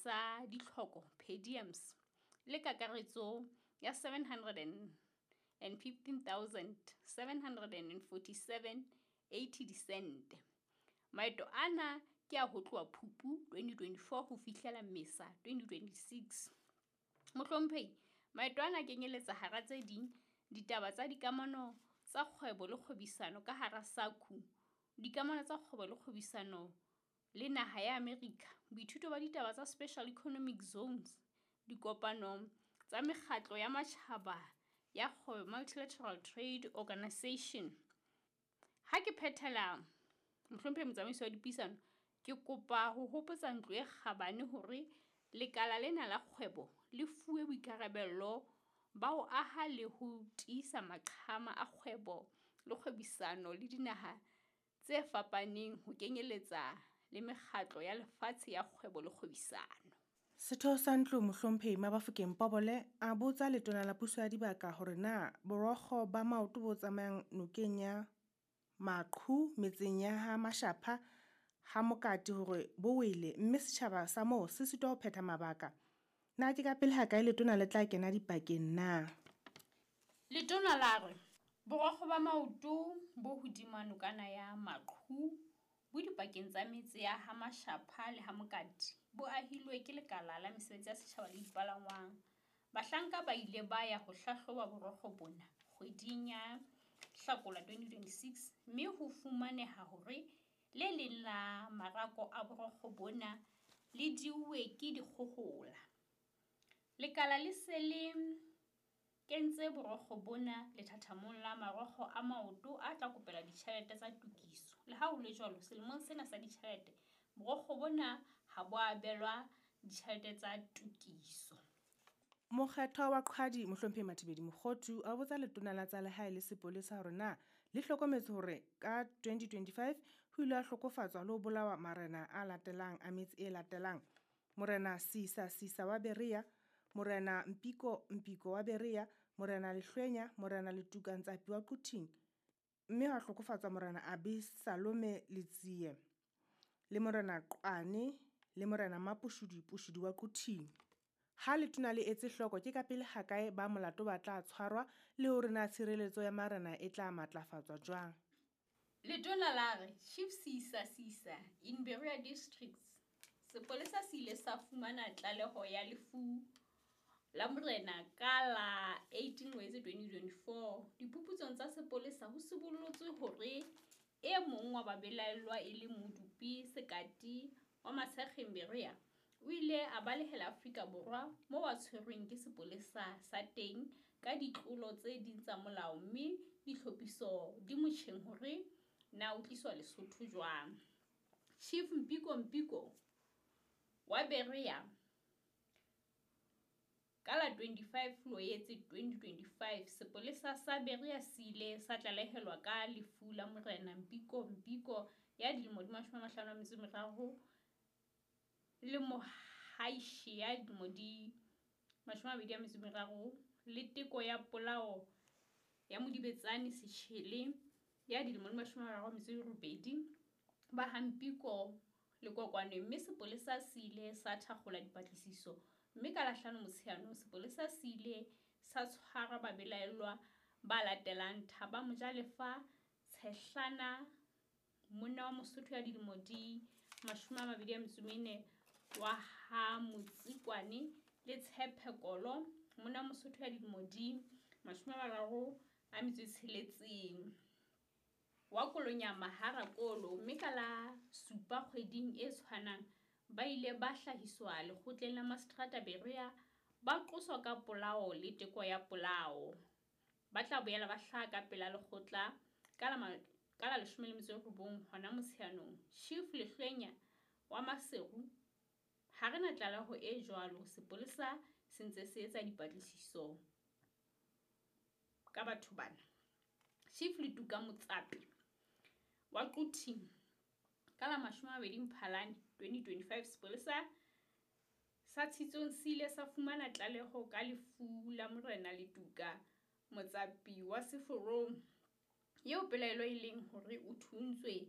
Sa ditlhoko, per diems, le kakaretso ya 715 747,80 disente. Maeto ana ke a ho tloha Phupu 2024 ho fihlela Mmesa 2026. Mohlomphehi, maeto ana a kenyeletsa hara tse ding, ditaba tsa dikamano tsa kgwebo le kgwebisano ka hara SACU, dikamano tsa kgwebo le kgwebisano le naha ya America, boithuto ba ditaba tsa Special Economic Zones, dikopano tsa mekgatlo ya matjhaba ya kgwebo Multilateral Trade Organisation. Ha ke phethela, Mohlomphehi Motsamaisi wa Dipuisano, ke kopa ho hopotsa ntlo e kgabane hore lekala lena la kgwebo le fuwe boikarabello ba ho aha le ho tiisa maqhama a kgwebo le kgwebisano le dinaha tse fapaneng ho kenyeletsa le mekgatlo ya lefatshe ya kgwebo le kgwebisano. Setho sa Ntlo Mohlomphehi Mabafokeng Pobole a botsa Letona la Puso ya Dibaka hore na borokgo ba maoto bo tsamayang nokeng ya Maqhu metseng ya ha Mashapha ha Mokati hore bo wele mme setjhaba sa moo se sitwa ho phetha mabaka. Na ke ka pele hakae letona le tla kena dipakeng na? Letona la re, Borokgo ba maoto bo hodima nokana ya Maqhu bo dipakeng tsa metse ya ha Mashapha le ha Mokati bo ahilwe ke Lekala la Mesebetsi ya Setjhaba le Dipalangwang. Bahlanka ba ile ba ya ho hlahloba borokgo bona kgweding ya Hlakola 2026 mme ho fumaneha hore le leng la marako a borokgo bona le diuwe ke dikgohola. Lekala le se le kentse borokgo bona lethathamong la marokgo a maoto a tla kopelwa ditjhelete tsa tokiso. Le ha ho le jwalo, selemong sena sa ditjhelete borokgo bona ha bo a abelwa ditjhelete tsa tokiso. Mokgethwa wa Qhwadi Mohlomphehi Mathibeli Mokhothu a botsa Letona la tsa Lehae le Sepolesa hore na le hlokometse hore ka 2025 ho ile ha hlokofatswa le ho bolawa marena a latelang a metse e latelang, Morena Sisa Sisa wa Berea, Morena Mpiko Mpiko wa Berea, Morena Lehlwenya, Morena Letuka Ntsapi wa Quthing, mme ha hlokofatswa Morena Abesalome Letsie le Morena Qwane le Morena Mapushudi Pushudi wa Quthing. Ha letona le etse hloko ke kapele hakae ba molato ba tla tshwarwa le hore na tshireletso ya marena e tla matlafatswa jwang? Letona la re, Chief Seisa Seisa in Berea Districts, Sepolesa se ile sa fumana tlaleho ya lefu la morena ka la 18 Loetse 2024. Diphuputsong tsa sepolesa ho sibollotswe hore e mong wa babelaellwa e leng Modupi Sekati wa Matshekgeng Berea, o ile a balehela Afrika Borwa moo a tshwerweng ke sepolesa sa teng ka ditlolo tse ding tsa molao mme ditlhophiso di motjheng hore na o tliswa Lesotho jwang. Chief Mpiko Mpiko wa Berea, Ka la 25 Loetse 2025, sepolesa sa Berea se ile sa tlalehelwa ka lefu la Morena Mpiko Mpiko ya dilemo di 53 le Mohaishe ya dilemo di 23 le teko ya polao ya Modibetsane Sechele ya dilemo di 38 ba ha Mpiko Lekokwane mme sepolesa se ile sa thakgola dipatlisiso mme ka la hlano Motsheanong sepolesa se ile sa tshwara babelaellwa ba latelang Thaba Mojalefa Tshehlana monna wa Mosotho ya dilemo di 24 wa ha Motsikwane le Tshephe Kolo monna wa Mosotho ya dilemo di 36 wa Kolonyama ha Rakolo mme ka la supa kgweding e tshwanang ba ile ba hlahiswa lekgotleng la Maseterata Berea ba qoswa ka polao le teko ya polao. Ba tla boela ba hlaha ka pela lekgotla ka la ka la 19 hona Motsheanong. Chief Lehlwenya wa Maseru, Ha re na tlaleho e jwalo, sepolesa se ntse se etsa dipatlisiso ka batho bana. Chief Letuka Motsapi wa Quthing, Ka la 20 Mphalane 2025 sepolesa sa Tshitsong se ile sa fumana tlaleho ka lefu la Morena Letuka Motsapi wa Seforong eo pelaelo e leng hore o thuntswe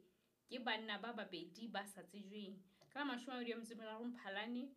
ke banna ba babedi ba sa tsejweng. Ka la 23 Mphalane